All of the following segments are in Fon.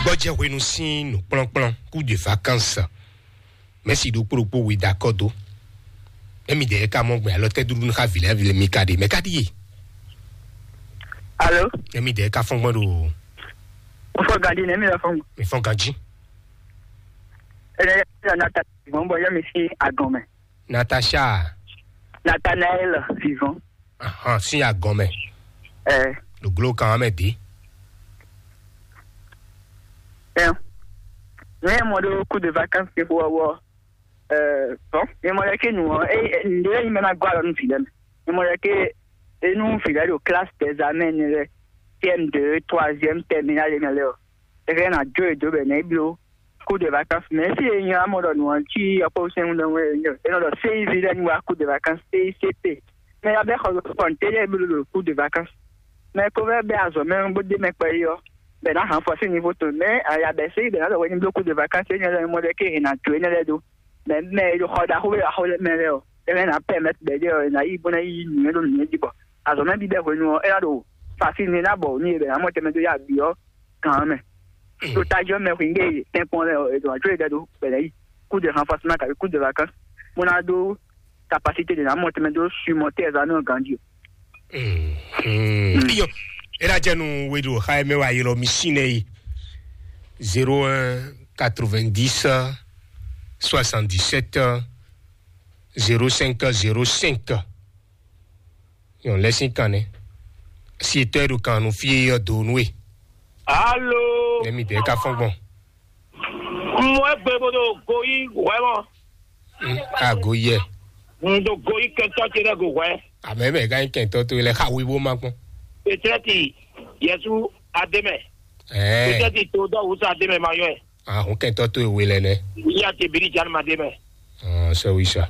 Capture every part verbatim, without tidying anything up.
Ɔ jɛ hwenu sín nǔkplɔ́nkplɔ́n kú de vacances. Mɛsi ɖokpó ɖokpó we da kɔ dó. Emi dɛ ka mɔ gbɛ alɔ tɛ duɖu xa vilɛ vilɛ mi ka ɖe mɛ ka ɖi ye. Alo. Emi dɛ ka fɔn gbɔn ɖo. Mo fɔ gadi nɛ mi la fɔn. Mi fɔn ganji. Ɛnɛ ya nata gbɔn bɔ ya mi si agɔn mɛ. Natasha. Nathanael vivant. Ahan, sin agɔn mɛ. Ɛ. Ɖo glo kan mɛ di. Ɛ. Ne mɔ ɖo coup de vacances ke fo wɔ. Ɛ. Bon, ne mɔ ɖe ke nu ɔ, e nɖe yi mɛ na gɔ alɔ nu fi lɛ mɛ. Ne mɔ ɖe ke enu fi lɛ ɖo classe d'examen ne lɛ, C M deux, troisième, terminale ne lɛ ɔ. E fɛ na jo e do bɛ ne bló coup de vacances. Mais si e nya mɔ ɖɔ nu ɔ ci ɔkpɔ sɛn ɖɔ e nɔ ɖɔ C I V lɛ nu wa coup de vacances, C I C P. Mais ya bɛ xɔ kɔnte lɛ bló ɖo coup de vacances. Mais ko vɛ bɛ azɔ mɛ bó de mɛ kpɛ yi ɔ. Bɛ na han fɔ si niveau to. Mais ya bɛ se bɛ na ɖɔ wɛ ni bló coup de vacances e nya lɛ mɔ ɖe ke e na jo e ne lɛ do. Mɛ mɛ e ɖo xɔ ɖaxó e axó lɛ́ɛ mɛ lɛ́ɛ ɔ́, é lɛ́ ná pɛ́ mɛ bɛ̌ ɖé ɔ́, è nǎ yí bó ná yí nǔnywɛ́ ɖó nǔnywɛ́ jí bɔ azɔ̌ mɛ bíbɛ́ hwenu ɔ́, é ná ɖo fafínu e ná bɔ ní e bɛ ná mɔ tɛnmɛ dó yá abǐ ɔ́ gǎn mɛ. Ɖo tají ɔ́ mɛ hwǐngbe e tɛ́nkpɔ́n lɛ́ɛ ɔ́, è ɖo ajó e ɖɛ ɖó bɛ̌ ná yí kú de hanfasí ná kabi kú de vacances bó ná ɖó capacité de ná mɔ tɛnmɛ dó sui mɔ tɛ́ ɛ zán nɔ ganjí o. Iyo, e ɖo ajɛ nu we ɖo xa mɛ wa ylɔ mi sin nɛ yi zéro un quatre-vingt-dix soixante-dix-sept zéro cinq zéro cinq. Yɔn lɛ sin kan nɛ. Si etɔ́ e ɖo kan nu fí e yɔ do nu e. Alo. Nɛ mi dɛ ka fɔn gbɔn. Mɔ egbe bo do goyi wɛ mɔ. Ago yɛ. N do goyi kɛntɔ ce ɖe go wɛ. Amɛ mɛ ka nyí kɛntɔ to lɛ xa wi bó ma kpɔn. Petɛti Yesu ademɛ. Ɛɛ. Petɛti to dɔ wusa ademɛ ma yɔ ɛ. Ahun kɛntɔ to ewe lɛ nɛ. Ya te biri jan ma demɛ. Ɔn sɛ wi sa.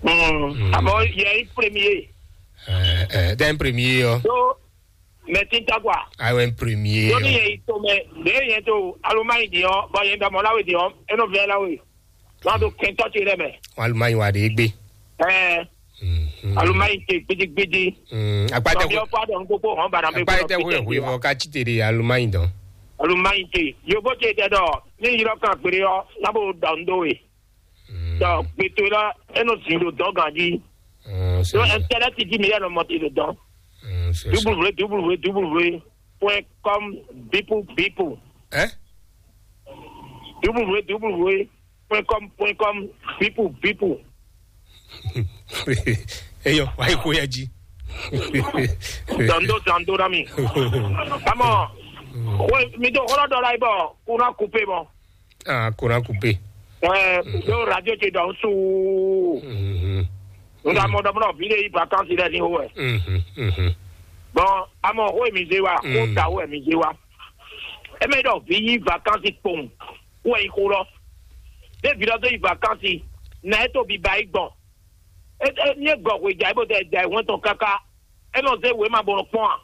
Mm. Abo yɛ i premier. Ɛɛ ɛɛ dɛn premier yɔ. Do mɛ tinta kwa. Ayiwa premier. Doni yɛ i to mɛ de yɛ to aluma yi di ɔ bɔ yɛ dɔmɔ lawe di ɔ enɔ vɛ lawe. Wọn do kɛntɔ ti lɛ mɛ. Wọn aluma yi wa de gbe. Ɛɛ. Aluma yi te gbidigbidi. Akpatɛ. Tɔbi ɔkpa dɔn gbogbo hɔn bana bɛ akpatɛ gbɔdɔ hwe hwe vɔ ka ci te de aluma yi dɔn. Aluma yi te yobo te tɛ dɔ ni yirɔ kan gbere ɔ nabo dɔn do we. Dɔ gbetɔ la enɔ zin do dɔn ganji. Donc internet di mi yɛ nɔ mɔti do dɔn. W W W point com bipu bipu. Ɛ? W W W point com point com bipu bipu. Eyɔ wa yi ko ya ji. Dɔndo dɔndo na mi. Amɔ, we mi do xɔlɔ dɔ la yi bɔ kuna kupe mɔ. Ah, kuna kupe. Ɛɛ, do radio ce dɔn su. Nga mɔ dɔ mɔ vi de yi vacances lɛ ni o wɛ. Bon, amɔ xó mi zé wa, xó ta wɛ mi zé wa. E mɛ dɔ vi yi vacances kpɔn, wɛ yi xó lɔ. De vi dɔ do yi vacances, na e to bi ba yi gbɔn. E e ni e gɔ hwe ja e bo tɛ ja e wɛn tɔn kaka. E nɔ zé wema bɔ nɔ kpɔn a?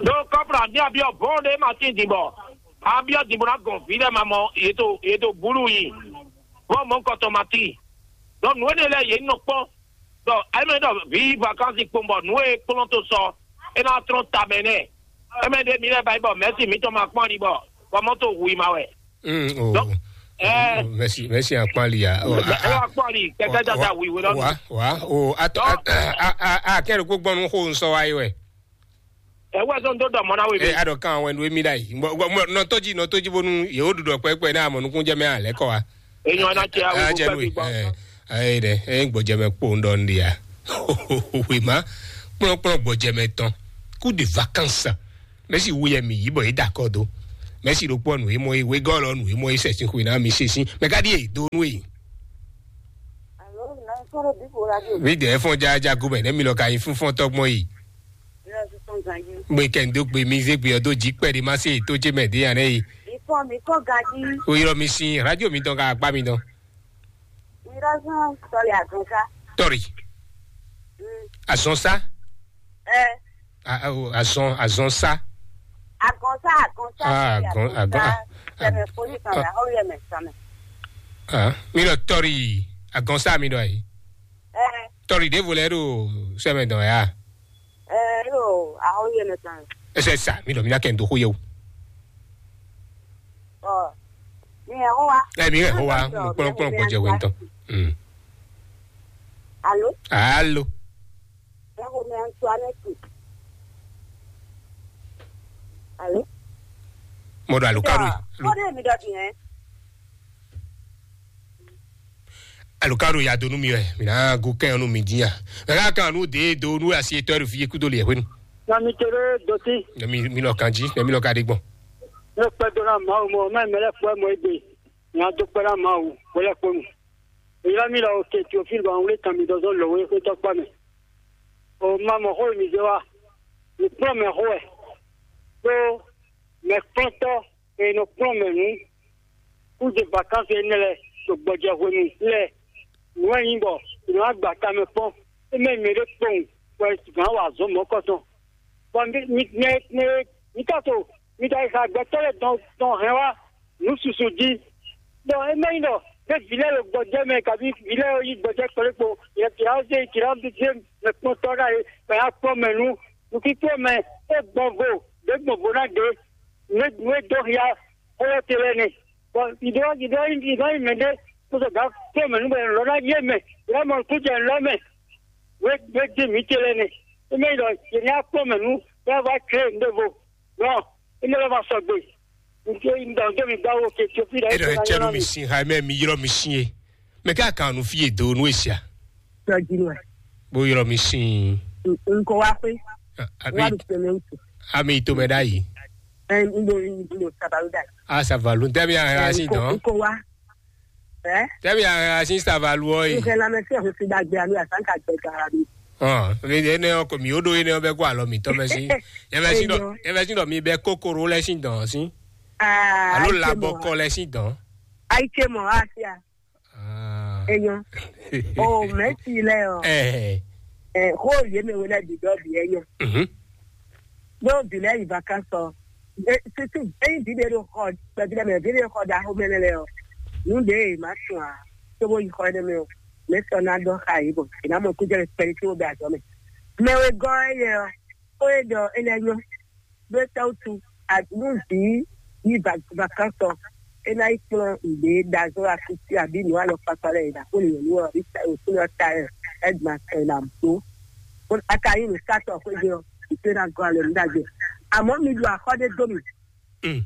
Ɖo kɔfra mi abiɔ bɔn ɖe ma tin din bɔ abiɔ din bɔ na gɔn vi lɛ ma mɔ yeto yeto bulu yi. Bɔ mɔ kɔtɔ ma tin. Donc nu ene lɛ ye nɔ kpɔn. Donc ayi mɛ dɔ vi vacances kpɔn bɔ nu e kplɔn to sɔ e na trɔn ta mɛ nɛ. E mɛ ɖe mi lɛ ba yi bɔ mɛsi mi tɔ ma kpɔn ni bɔ bɔ mɔ to hu yi ma wɛ. Mm, oh. Donc, eh. Mɛsi mɛsi akpali ya. Oh, ɛ wa kpɔn ni kɛkɛ dada wi wɛ lɔ. Wa wa o atɔ a a a kɛrɛ kó gbɔnu xo nsɔ wa yi wɛ. Ɛ wɛ zɔn do dɔ mɔ na we. E adɔ kan wɛ nu emi da yi. Nɔtɔji nɔtɔji bonu yewo ɖuɖɔ kpɛkpɛ n'a mɔ nukun jɛ mɛ alɛ kɔ wa. Enyɔ na cɛ awo kpɛkpɛ gbɔ. Ayi dɛ e gbɔjɛmɛ kpo ŋdɔ ŋdi ya. Wema kplɔnkplɔn gbɔjɛmɛ tɔn coup de vacances. Mɛsi wu yɛ mi yi bɔ yi da kɔ do. Mɛsi ɖokpɔ nu yi mɔ yi wegɔ lɔ nu yi mɔ yi sɛsin xwe na mi sɛsin mɛ ka ɖi yi do nu yi. Mi dɛ fɔn jaja go mɛ ne mi lɔ ka yi fún fɔn tɔgbɔn yi. Gbe kɛ ndo gbe mi ze gbe ɔdo ji kpɛ di ma se to je mɛ de yan ne yi. Ifɔ mi kɔ gaji. O yɔrɔ mi sin radio mi dɔn ka akpa mi dɔn. Mi dɔ sɔn sɔli azɔn sa. Tɔri. Azɔn sa. Ɛ. Azɔn azɔn sa. Agɔnsa agɔnsa. Ah agɔn agɔn ah. Sɛmɛ foli kan la aw yɛ mɛ sɛmɛ. Ah mi lɔ tɔri agɔnsa mi dɔ yi. Ɛ. Tɔri de volɛ do sɛmɛ dɔn ya. Ɛ lo aw yɛ mɛ sɛmɛ. Ɛsɛ sa mi dɔ mi na kɛ n do ko yɛ o. Ẹ mi hɛn xó wa, mo kplɔ́n kplɔ́n gbɔjɛ hwe ŋutɔ. Mm. Alo? Alo. Ẹ xo mi Antoinette. Alo? Mo ɖo alukaɖu. Kóɖé mi ɖɔ din hɛn. Alukaɖu ya do nú mi wɛ, mi ná gú kɛn nú mi dín ya. Mɛ ká kan nú dě do nú asi etɔ́ ɖo fi kúdo li hwenu. Na mi tere doti. Mi mi lɔ kan jí, mi lɔ ka ɖe gbɔn. Ne kpɛdona Mawu mɔ, mɛ mɛ lɛ fɔ mɔ egbe. Nya dó kpɛ́ ná Mawu hwelɛ́kponu. È ylɔ́ mì ɖɔ Teofílu bɔ un wlí kan mì ɖɔ zɔ́n lɔ̌wé xwé tɔ́ kpá mɛ. O ma mɔ xó e mi zé wa, mi kplɔ́n mɛ xó wɛ, ɖó mɛkplɔ́ntɔ́ e nɔ kplɔ́n mɛ nǔ kúze vakánsi énɛ́ lɛ́ɛ ɖo gbɔjɛ hwenu lɛ́ɛ, nǔ wɛ nyí bɔ è nɔ wá gba tamɛ kpɔ́n, é mɛ mɛ ɖé kpowun bɔ è gǎn wa azɔ̌ mɔ̌kɔtɔn. Bɔ mi mi mi mi mi ka to mi ka yi xa gbɛtɔ́ lɛ́ɛ dɔn dɔn hɛn wá nǔ susu jí. Ɖɔ é mɛ nyí ɖɔ ɖé vǐ lɛ́ɛ ɖo gbɔjɛ́ mɛ, kabi vǐ lɛ́ɛ yi gbɔjɛ́ kplé kpo, yɛ kìlá zé kìlá zé mɛ kpɔ́ntɔ́ ɖa é, mɛ ya kplɔ́ mɛ nú nukínkplɔ́ mɛ é gbɔn vo, ɖě gbɔn vo ná ɖě, nǔ e nǔ e dó hia xó lɛ́ɛ te lɛ́ɛ nɛ. Bɔ ìdó ìdó ìdó yi mɛ ɖé kó sɔ gǎ kplɔ́ mɛ nú bɔ lɔ ná yé mɛ, yě ná mɔ nukún jɛ nǔ lɔ mɛ. Wé wé dín mǐ ce lɛ́ɛ nɛ. É mɛ nyí ɖɔ yě ní akpɔ́ mɛ nú bɔ é vɔ klé nǔɖévo. Nɔ é mɛ lɔ ma sɔgbe. Nǔ ce nyí ɖɔ dó mi gbá wo ke Etiopí ɖɔ é ɖɔ é cɛ nú mi sin xa mɛ mi ylɔ́ mi sin e. Mɛ ká kan nú fí e do nú e sia. Tɔjinu ɛ. Bó ylɔ́ mi sin. Nko wa xwé. Wa Abi ɖo tɛmɛ ŋutu. Ami to mɛ ɖ'ayǐ. Ɛ n ɖo n ɖo sabalu da. A savalu tɛbi a sin dɔn. Nko wa. Ɛ. Tɛbi a sin savalu ɔ yi. N fɛ lamɛ sɛ ho si dagbe anu asan ka gbɛ gara mi. Ɔ mi de ne ɔ ko mi o ɖo yi ne ɔ bɛ kó alɔ mi tɔ mɛ si. Yɛ mɛ si dɔ yɛ mɛ si dɔ mi bɛ kokoro lɛ si dɔn si. Aa. Alo labɔ kɔ lɛ si dɔn. Ayi ce mɔ asia. Ah. Enyo. O mɛsi lɛ ɔ. Ɛɛ. Ɛ xo ye mɛ wele bi dɔ bi enyo. Mhm. Ɖó vǐ lɛ́ɛ yi vakánsɔ. Susu ényí vǐ ɖé ɖo xɔ kpɛví lɛ́ɛ mɛ, vǐ ɖé ɖo xɔ ɖaxó mɛ lɛ́ɛ ɔ, nǔ ɖě e má sun ǎ, cóbó yi xɔ énɛ́ mɛ ɔ́, mɛ̌ sɔ́ ná ɖɔ xá yě bɔ è nǎ mɔ kújɛ kpɛɖé cóbó bɛ azɔ̌ mɛ. Mɛ wegɔ́ éyɛ́ ɔ́, xó e ɖɔ é lɛ́ɛ nyɔ́, ɖó é tɛ́ wútu nú vǐ yi vakánsɔ, é ná yi kplɔ́n nǔɖé ɖazɔ́ akúsi abǐ nǔ alɔkpakpa lɛ́ɛ e ɖo aklúnɔ nyɔ̌nu ɔ́ abǐ òkúnɔ ta ɛ, é gbɔn ɛ ná dó. A ka nyí nǔsatɔ xwéjé ɔ́, ìpè ná gɔ́ alɔ nǔ ɖagbe. Àmọ́ mi ɖu axɔ́ ɖé dó mì, Mm.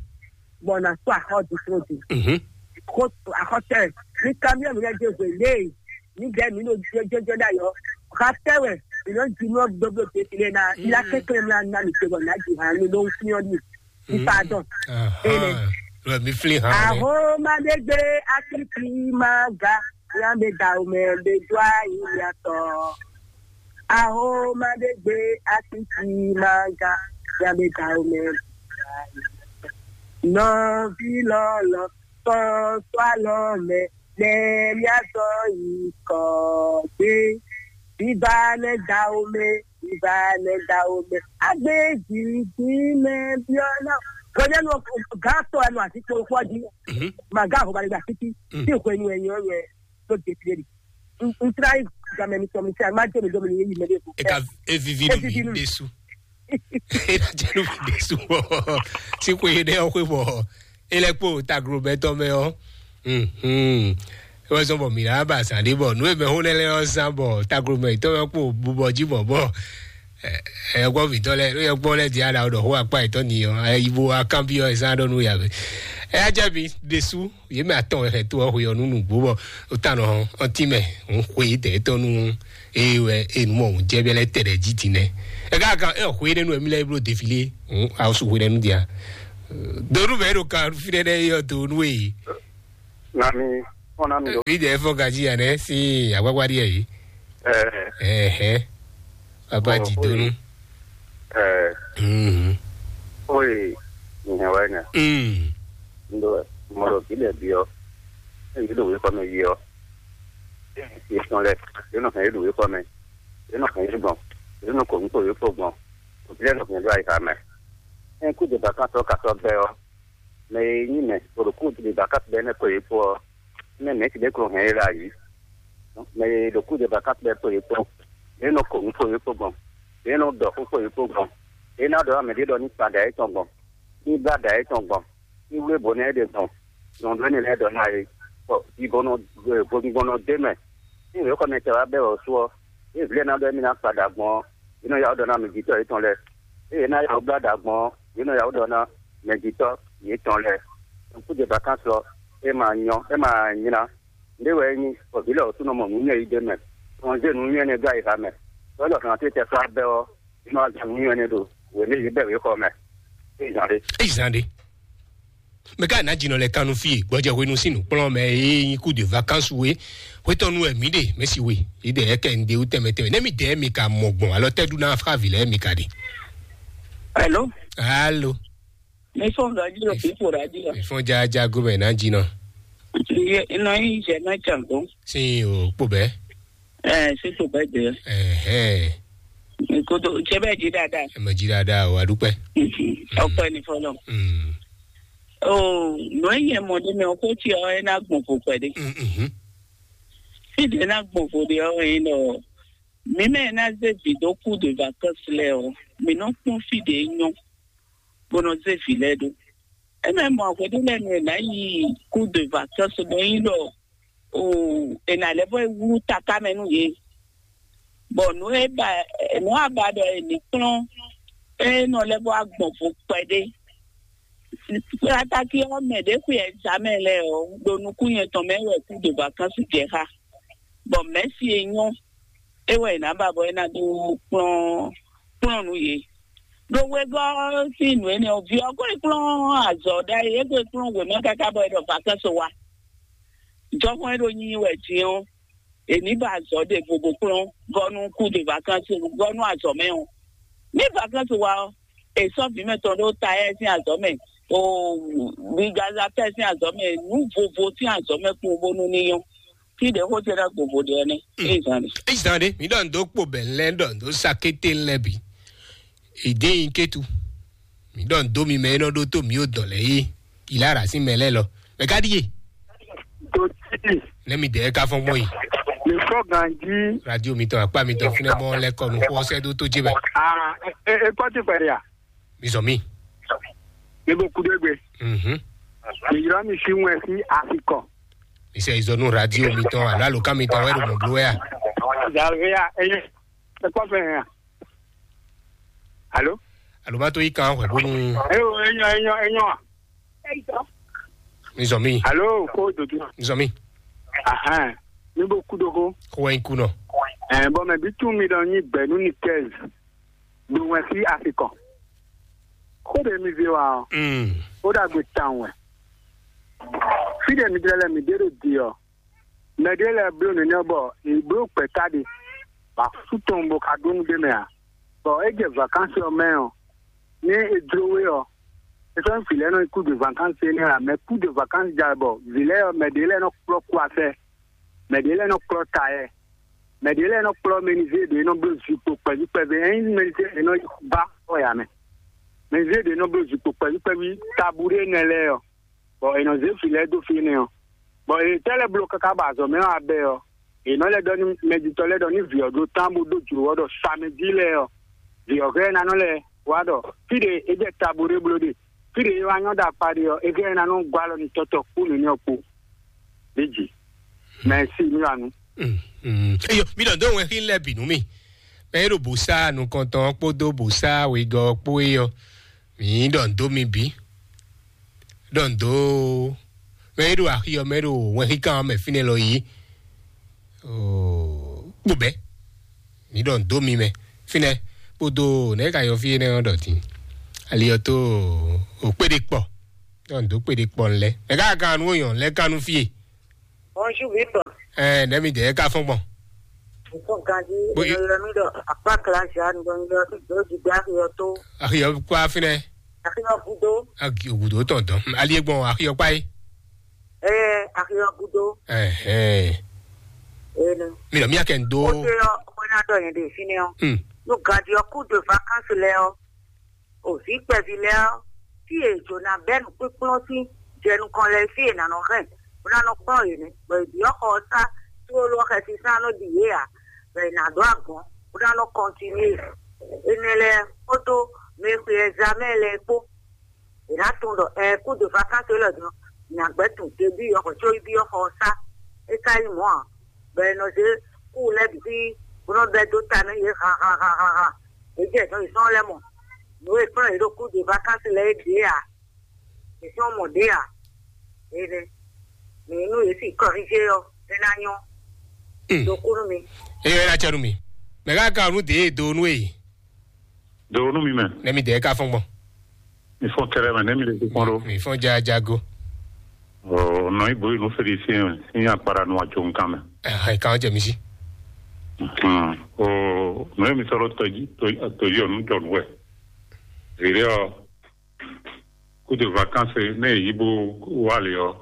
Bɔ nǎ kpɔ axɔ́ ɖisúnɔ din. Mhm. Xó axɔ́ tɛ, mi kanbyɔ́ mi lɛ́ dó hwe léè, mi dɛ́ mi ɖo jɔjɔjɔ ɖ'ayɔ. Xa tɛ wɛ, mi nɔ ji nɔ gbogbo tete lɛ na, ila kɛkɛ mi na mi te bɔ nǎ ji hàn mi ɖó fúnyɔ ɖi. Mi pardon. Ahan. Ele. Lɔ mi flin hàn. Aho ma ɖe gbe akiti ma ga, ya be da o mɛ be do ayi ya tɔ. Aho ma ɖe gbe akiti ma ga, ya be da o mɛ. Nɔvi lɔlɔ, tɔ sɔ alɔ mɛ, nɛ mia zɔ yi kɔ gbé. Biba nɛ da o mɛ, biba nɛ da o mɛ. Agbe jiji mɛ biɔ na. Gɔnyɛnu gã tɔ ɛnu ati kpokpɔ di. Mhm. Ma gã ho ba le da titi. Mm. Ti hwenu ɛnyɔ yɛ. Tó de fi ɖe. N tra yi gamɛ mi tɔ mi ti a ma jɛ mi dɔ mi ni yi mɛ de ko. E ka e vivi nu mi de su. E na jɛ nu mi de su bɔ si ko ye ɖe ɔ xwe bɔ e lɛ kpo taglobɛtɔ mɛ ɔ. Mhm. E wɛ sɔn bɔ mi na ba zan de bɔ nu e mɛ ho ne lɛ ɔ zan bɔ taglobɛtɔ mɛ kpo bubɔ ji bɔ bɔ. Ɛ gbɔ vitɔ lɛ ló yɛ gbɔ lɛ di ala ɖɔ ho akpa etɔ ni ɔ ayi bo akanbi ɔ esa ɖɔ nu ya bɛ. Ɛ ajɛ mi de su. Yě mɛ atɔn wɛ xɛ tó ɔ́ xwe ɔ́ nú nǔgbó bɔ ó ta nɔ ɔ́n tínmɛ òun xwe dɛ̌tɔ́ nú eye wɛ eye nǔ mɔ òun jɛ bɛ́ lɛ́ tɛ ɖɛ jí din nɛ́. Ɛ ká kan ɛ xwe énɛ́ nú ɛmí lɛ́ɛ bló defilé òun awɔsu xwe nɛ́ nú dia. Donu mɛ ɖo kan fínɛ́ nɛ́ yɔ donu e. Nami, kɔn nami ɖo. Bí dɛ fɔ gají yà nɛ sí àgbágbá díẹ̀ yìí. Ɛɛ. Ɛhɛ. Baba jí donu. Ɛɛ. Mhm. Oye, nyɛ wɛ nyɛ. Mm. Ndo mɔlɔ bi lɛ bi ɔ. Eyi do wekɔ mɛ yi ɔ. Eyi sɔn lɛ. Yɛ nɔ hɛn yi do wekɔ mɛ. Yɛ nɔ hɛn yi gbɔn. Yɛ nɔ kɔ nukɔ yi kɔ gbɔn. Obi lɛ nɔ hɛn do ayi ha mɛ. Ɛn kú de ba kan tɔ ka tɔ bɛ ɔ. Mɛ e nyí mɛ, bɔ ɖo kúdú ɖe ba káfí bɛ́ nɛ́ kɔ yě kpó ɔ́, mɛ mɛ̌ ti ɖé klo hɛn é ɖo ayǐ. Mɛ e ɖo kúdú ɖe ba káfí bɛ́ kpo yě kpó, yě nɔ kɔ nǔ kpo yě kpó gbɔn, yě nɔ ɖɔ xó kpo yě kpó gbɔn, yě ná ɖɔ mɛ ɖé ɖɔ ní kpa ɖa yětɔn gbɔn, ní blá ɖa yětɔn gbɔn, ní wlé bǒ ná é ɖe gbɔn. nɔ ɖɔ énɛ́ lɛ́ɛ ɖɔ ná é, bɔ vivɔnɔ vodúngbɔnɔ dé mɛ. Ní wěxɔ mɛ tɛ wá bɛ́ wɛ sú ɔ́, ée vǐ lɛ́ɛ ná ɖɔ émí ná kpa ɖa gbɔn ɔ́, é nɔ yá wó ɖɔ ná mɛjitɔ́ yětɔn lɛ́ɛ. Ée é ná yá wó blá ɖa gbɔn ɔ́, é nɔ yá wó ɖɔ ná mɛjitɔ́ yětɔn lɛ́ɛ. Kúdě vakánsɔ é ma nyɔ, é ma nylá. Nɖé wɛ é nyí, bɔ vǐ lɛ́ɛ wǒ sú nɔ mɔ nǔ nyɛ yi ɖ'é mɛ. Nɔ zé nǔ nyɛ nɛ́ dó ayixa mɛ. Tɔ́ lɔ kan tó tɛ sɔ́ abɛ ɔ́, é nɔ wá zé nǔ nyɛ nɛ́ ɖo wěmɛ yě bɛ wěxɔ mɛ. É zán ɖé. É zán ɖé. Mɛ ká ná jinɔ lɛ kannu fí e gbɔjɛ hwenu sín nǔkplɔ́n mɛ e nyí kú de vakansu we hwetɔnu wɛ mǐ ɖe mɛsi we. Yě ɖe ɛkɛ ŋɖe wú tɛnmɛ tɛnmɛ nɛ́ mi dɛɛ mi ka mɔ gbɔn alɔ tɛ́ ɖu ná fávi lɛ́ɛ mi ka ɖe. Hello. Alo. Mi fɔn radio, people radio. Mi fɔn jaja gomɛ ná jinɔ. Ye nɔ yi jɛ na can go. Sin o kpo bɛ. Eh, si to bɛ de. Ɛhɛn. Kodo jɛ bɛ ji dada. Ɛ mɛ ji dada o adúpẹ́. Ọpẹ́ ni fọlọ. Mm. Oh, no ye mo de me o ko ti o e na gbɔn ko pɛ de. Mm, mhm. Si de na gbɔn ko de o e no. Mi me na ze vi do ku de vacances le o. Mi no kpɔn fi de nyo. Bó nɔ zé vǐ lɛ́ɛ ɖó. É mɛ mɔ hweɖé lɛ́ɛ nu è nǎ yi kú de vacances bɔ é nyí ɖɔ o è nǎ lɛ́ vɔ é wlú taká mɛ nú yě. Bɔ nǔ e ba nǔ a ba ɖɔ è nǐ kplɔ́n é nɔ lɛ́ vɔ agbɔn vo kpɛɖé. Kplátákí ɔ́ mɛ ɖě xwe ɛzamɛ lɛ́ɛ ɔ́ ɖo nukún nyɛ tɔn mɛ wɛ kú de vacances jɛ xá. Bɔ mɛ̌si e nyɔ́ é wɛ è nǎ ba bɔ é ná dó kplɔ́n kplɔ́n nǔ yě. Ɖo wegɔ́ sín nǔ énɛ́ ɔ́, vǐ ɔ́ ko yi kplɔ́n azɔ̌ ɖ'ayǐ, é ko yi kplɔ́n wěma káká bɔ é ɖɔ vacances wá. Jɔhɔn e ɖo nyi wɛ din ɔ́, è ní ba azɔ̌ ɖěvo bó kplɔ́n gɔ́ nú kú de vacances gɔ́ nú azɔ̌ mɛ ɔ́. Ní vacances wá ɔ́, è sɔ́ vǐ mɛtɔn ɖó Tayɛ́ sín azɔ̌ mɛ, o Gaza tɛ́ sín azɔ̌ mɛ, nǔ vovo sín azɔ̌ mɛ kpowun bónú ní nyɔ́. Fí ɖě xó ce ná gbogbo ɖe ɔ́ nɛ́. Ée zan ɖe. Eyi zan ɖe mi ɖɔ ndo kpo bɛ lɛ ɖɔ ndo sakete lɛ bi. Ede yin ketu. Mi ɖɔ ndo mi mɛ enɔ ɖo to mi o dɔn lɛ yi. Ilara si mɛ lɛ lɔ. Mɛ ka ɖi ye. Tó tí Ne mi dɛ ka fɔn gbɔn yi. Mi fɔ ganji. Radio mi tɔn akpa mi tɔn finɛ mɔ lɛ kɔ nu xɔ sɛ do to dzi mɛ. Ah, e e kpɔ ti fɛ ya. Mi zɔ mi. Mi bo kudo egbe. Mhm. Mi yra mi si wɛ si afikɔ. Mi sɛ izɔ nu radio mi tɔn alo alo kan mi tɔn wɛ ɖo mɔ blo ya. Zalvia enye. E kpɔ fɛ ya. Alo. Alo ma to yi kan hwɛ bonu. Eyo enyo enyo enyo. Mi zɔ mi. Alo ko dodo. Mi zɔ mi. Ahan. Mi bo kudo ko. Ko wɛ ku nɔ. Eh, bon, mais bitu mi dɔn nyi bɛnu ni quinze. Ɖo wɛn fí afikɔ. Xó ɖe mi vi wa ɔ́, Mm. Ó ɖagbe tawun wɛ. Fí ɖe mi ɖe lɛ mi ɖe ɖo di ɔ́, mɛ ɖe lɛ bló nɛnɛ bɔ è bló gbɛ̌ta ɖe, bɔ asú tɔn bo ka ɖó nú ɖé mɛ ǎ. Bɔ é jɛ vakansi ɔ́ mɛ ɔ́, ní è jló we ɔ́, é sɔ́ nyí vǐ lɛ́ɛ nɔ yi kú de vakansi énɛ́ ǎ, mɛ kú de vakansi ja bɔ vǐ lɛ́ɛ ɔ́, mɛ ɖě lɛ́ɛ nɔ kplɔ́ kú afɛ, mɛ ɖě lɛ́ɛ nɔ kplɔ́ ta yɛ. Mɛ ɖě lɛ́ɛ nɔ kplɔ́ mɛnizée ɖě nɔ bló zikpo kpɛví kpɛví, é nyí mɛnizée ɖě nɔ ba xɔ ya mɛ. Mɛnizée ɖě nɔ bló zikpo kpɛví kpɛví tabu ɖé nɛ lɛ́ɛ ɔ́, bɔ è nɔ zé vǐ lɛ́ɛ dó fí énɛ́ ɔ́. Bɔ è tɛ́ lɛ́ bló káká bɔ azɔ̌ mɛ ɔ́ abɛ ɔ́, è nɔ lɛ́ ɖɔ nú mɛjitɔ́ lɛ́ɛ ɖɔ ní vǐ ɔ́ ɖó tán bó dó jlǒ ɔ́ ɖɔ samɛjí lɛ́ɛ ɔ́, vǐ ɔ́ hɛn ná nɔ lɛ́ wá ɖɔ fí ɖě é jɛ tabu ɖé bló ɖe, fí ɖě é wá nyɔ́ ɖo akpa ɖe ɔ́, é hɛn ná nɔ gɔ́ alɔ nú tɔ́tɔ́ kpó nǔnywɛ́ kpó. Ɖěji. Mɛsi mi wá nu. Eyo mi ɖɔ dó wɛn xí lɛ bǐ nú mi. Mɛ e ɖo bǔsá nukɔntɔn ɔ́ kpódó bǔsá wegɔ́ ɔ́ kpó é ɔ́, mǐ ɖɔ dó mi bǐ. Ɖɔ dó mɛ e ɖo axi ɔ́ mɛ ɖo wɛn xí kan ɔ́ mɛ fínɛ́ lɔ yí. Kpo bɛ́. Mǐ ɖɔ dó mi mɛ fínɛ́ kpódó nɛ̌ ka yɔ fí énɛ́ ɔ́ ɖɔ din. Ali ɔ́ tó o kpéɖé kpɔ. Ɖɔ dó kpéɖé kpɔ lɛ. Nɛ̌ ka kan nú oyɔn lɛ kan nú fí e. Bonjour, Victor. Ɛ nɛ̌ mi dɛ ká fɔ́n gbɔn. Victor Gandhi, Bo- eno yɔ mi ɖɔ akpa kla ja ndo yɔ do jigbe axi ɔ́ tó. Axi ɔ́ kpa fínɛ́. Axi ɔ́ gudo. Axi ɔ́ gudo tɔn dɔn. Ali e gbɔn axi ɔ́ kpa yi. Ɛɛ, axi ɔ́ gudo. Ɛhɛn. Eno. Mi lɔ mi akɛ ndo. O te yɔ, o na dɔ yɛn de fine ɔ. Hmm. No Gandhi ɔ́ coup de vacances lɛ ɔ. O vǐ kpɛví lɛ́ɛ ɔ́, fí e è jǒ ná bɛ́ nǔkpínkplɔ́n sín jɛ nukɔn lɛ́ɛ fí e è nǎ nɔ hɛn, bó ná nɔ kplɔ́n yě nɛ́, bɔ è byɔ́ xɔ ɔ́ sá tlóló ɔ́ xɛsi sán nɔ ɖi yě ǎ, bɔ è nǎ ɖó agɔ̌n, bó ná nɔ kɔntinué. Énɛ́ lɛ́ɛ kpódó mɛ e xwe ɛzamɛ́ lɛ́ɛ kpó, è nǎ tunwun ɖɔ ɛɛ kú de vakánsó élɔ́ din ɔ́, nyagbɛ́ tun te byɔ́ xɔ có byɔ́ xɔ ɔ́ sá. É ka nyí mɔ̌ ǎ, bɔ è nɔ zé kú lɛ́ɛ bǐ sí bó nɔ́ bɛ́ dó ta nú yě han han han han han. Yě jɛ nǔ yětɔn lɛ́ɛ mɔ. Nǔ e kplɔ́n yě ɖo kú de vakansi lɛ́ɛ é ɖě ǎ. Yě sɔ́ mɔ ɖě ǎ. Énɛ́. Mɛ e nú yě si kɔrízé ɔ́, é ná nyɔ́. Ɖo kú nú mi. Eye ɔ́ ná cɛ nú mi. Mɛ ká ka nú dě e do nú e. Do nú mi mɛ. Nɛ́ mi dě ká fɔ́n gbɔn. Mi fɔ́n kɛlɛ mɛ, nɛ́ mi lè fi kpɔn ɖó. Mi fɔ́n jajago. Ɔ nɔ ibo yi nú Félicien mɛ, ní akpara nú ajo nǹkan mɛ. Ɛhɛn, kan jɛ mi sí. Hmm. O nɔ mi sɔrɔ tɔjí tɔjí ɔnu jɔ nú wɛ. Vǐɖé ɔ, coup de vacances ne yi bó wá lě ɔ,